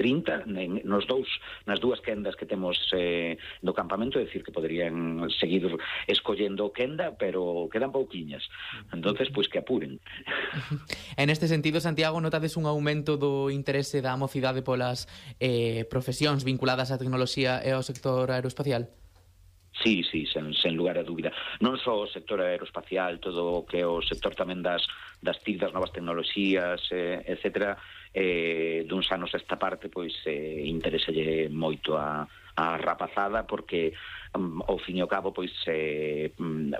30 nas dúas quendas que temos do campamento, é dicir, que poderían seguir escollendo quenda, pero quedan pouquiñas. Entonces, pois que apuren. En este sentido, Santiago, notades un aumento do interese da mocidade polas profesións vinculadas á tecnoloxía e ao sector aeroespacial? Sí, sen lugar a dúbida. Non só o sector aeroespacial, todo o que é o sector tamén das TIC, das novas tecnoloxías, etcétera, duns anos esta parte, pois interéselle moito a rapazada, porque ao fin e ao cabo pois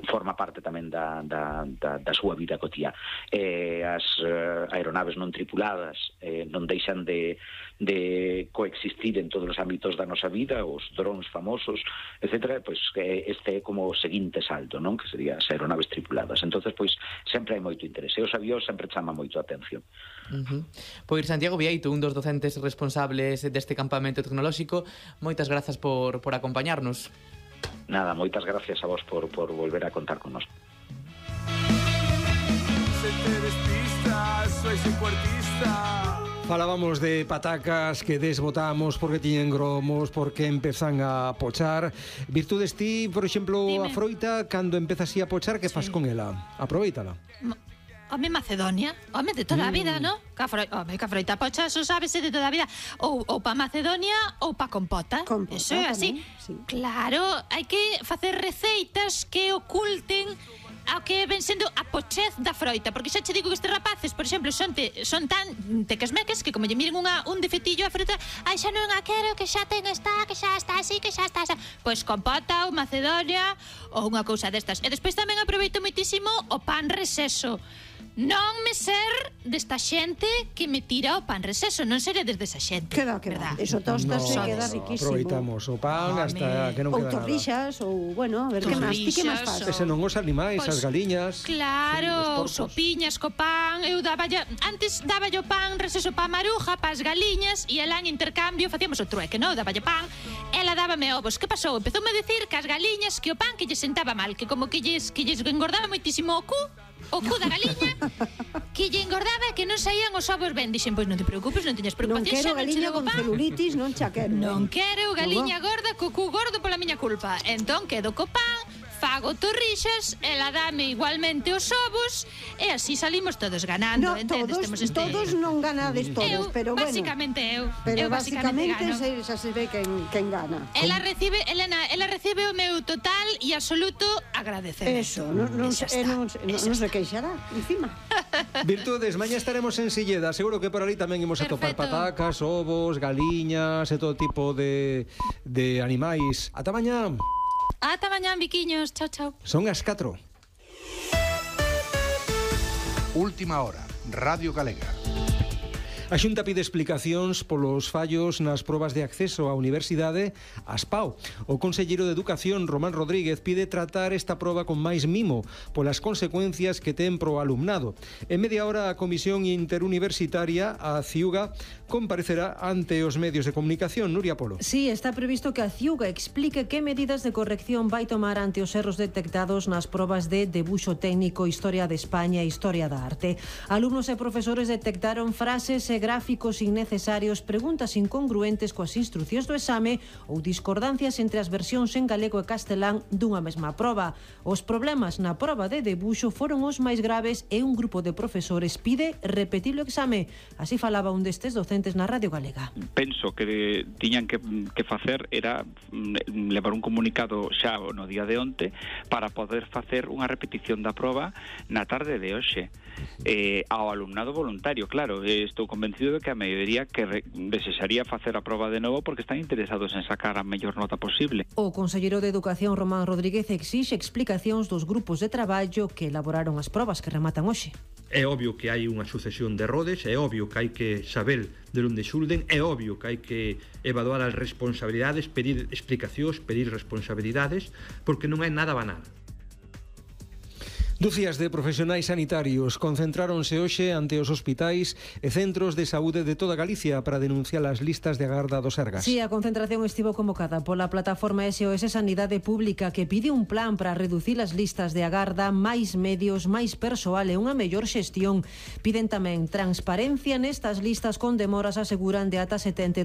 forma parte tamén da súa vida cotiá. As aeronaves non tripuladas non deixan de coexistir en todos os ámbitos da nosa vida, os drones famosos, etcétera, pois este é como o seguinte salto, non? Que sería as aeronaves tripuladas. Entonces, pois sempre hai moito interese. Os avións sempre chama moito a atención. Pois Santiago Vieito, un dos docentes responsables deste campamento tecnolóxico, moitas grazas por acompañarnos. Nada, moitas gracias a vos por volver a contar con nós. Se te despistas, sois un cuartista. Falábamos de patacas que desbotamos porque tiñen gromos, porque empezan a pochar. Virtudes, ti, por exemplo, a froita, cando empezas a pochar, que fas con ela? Aproveítala. Home, Macedonia, home, de toda a vida, non? Home, que a froita pocha, eso sábese de toda a vida. Ou pa Macedonia ou pa compota. Eso é así. Sí. Claro, hai que facer receitas que oculten ao que ven sendo a pochez da froita, porque xa che digo que estes rapaces, por exemplo, son tan tequesmeques que como lle miren un defetillo a fruta, ai, xa non a quero, que xa ten esta, que xa está así, que xa está así. Pois compota ou Macedonia ou unha cousa destas. E despois tamén aproveito moitísimo o pan reseso. Non me ser desta xente que me tira o pan reseso, non seré desde esa xente. Queda. Eso tostase, queda riquísimo. Aproveitamos o pan hasta que non queda nada. Ou torrixas, ou, bueno, a ver, que máis? Ti que máis faz? Ese non os animais, as galiñas. Claro, sopiñas co pan. Eu antes daba o pan reseso pa maruja, pa as galiñas, e ela en intercambio facíamos o trueque, non? Daba o pan, ela dábame ovos. Que pasou? Empezoume a decir que as galiñas, que o pan que lle sentaba mal, que como que lles engordaba moitísimo o cu da galiña, que lle engordaba e que non saían os ovos ben. Dixen, pois non te preocupes, non teñas preocupación. Non quero galiña con celulitis, non xa quero. Non quero galiña gorda co cu gordo pola miña culpa. Entón quedo co pan, fago torrixas, ela dame igualmente os ovos, e así salimos todos ganando. Todos non ganades todos, pero bueno. Basicamente eu. Pero basicamente xa se ve quen gana. Ela recibe o meu total e absoluto agradecemento. Eso, non se queixará, encima. Virtudes, mañá estaremos en Silleda. Seguro que por ali tamén imos a topar patacas, ovos, galiñas e todo tipo de animais. Ata mañá. Ata mañá, biquiños. Chao, chao. Son as 4. Última hora, Radio Galega. A Xunta pide explicacións polos fallos nas probas de acceso á universidade ás PAO. O conselleiro de Educación, Román Rodríguez, pide tratar esta proba con máis mimo polas consecuencias que ten pro alumnado. En media hora, a Comisión Interuniversitaria, a CIUGA, comparecerá ante os medios de comunicación. Nuria Polo. Sí, está previsto que a CIUGA explique que medidas de corrección vai tomar ante os erros detectados nas probas de debuxo técnico, Historia de España e Historia da Arte. Alumnos e profesores detectaron frases e gráficos innecesarios, preguntas incongruentes coas instruccións do exame ou discordancias entre as versións en galego e castelán dunha mesma proba. Os problemas na proba de debuxo foron os máis graves e un grupo de profesores pide repetir o exame. Así falaba un destes docentes na Radio Galega. Penso que tiñan que facer era levar un comunicado xa no día de onte para poder facer unha repetición da proba na tarde de hoxe. Ao alumnado voluntario, claro, estou convencido de que a maioría que desexaría facer a proba de novo porque están interesados en sacar a mellor nota posible. O conselleiro de Educación, Román Rodríguez, exixe explicacións dos grupos de traballo que elaboraron as probas que rematan hoxe. É obvio que hai unha sucesión de errores, é obvio que hai que saber de onde xulden, é obvio que hai que evaluar as responsabilidades, pedir explicacións, pedir responsabilidades, porque non é nada banal. Dúcias de profesionais sanitarios concentráronse hoxe ante os hospitais e centros de saúde de toda Galicia para denunciar as listas de agarda do Sergas. Sí, a concentración estivo convocada pola plataforma SOS Sanidade Pública, que pide un plan para reducir as listas de agarda, máis medios, máis persoal e unha mellor xestión. Piden tamén transparencia nestas listas con demoras, aseguran, de ata 72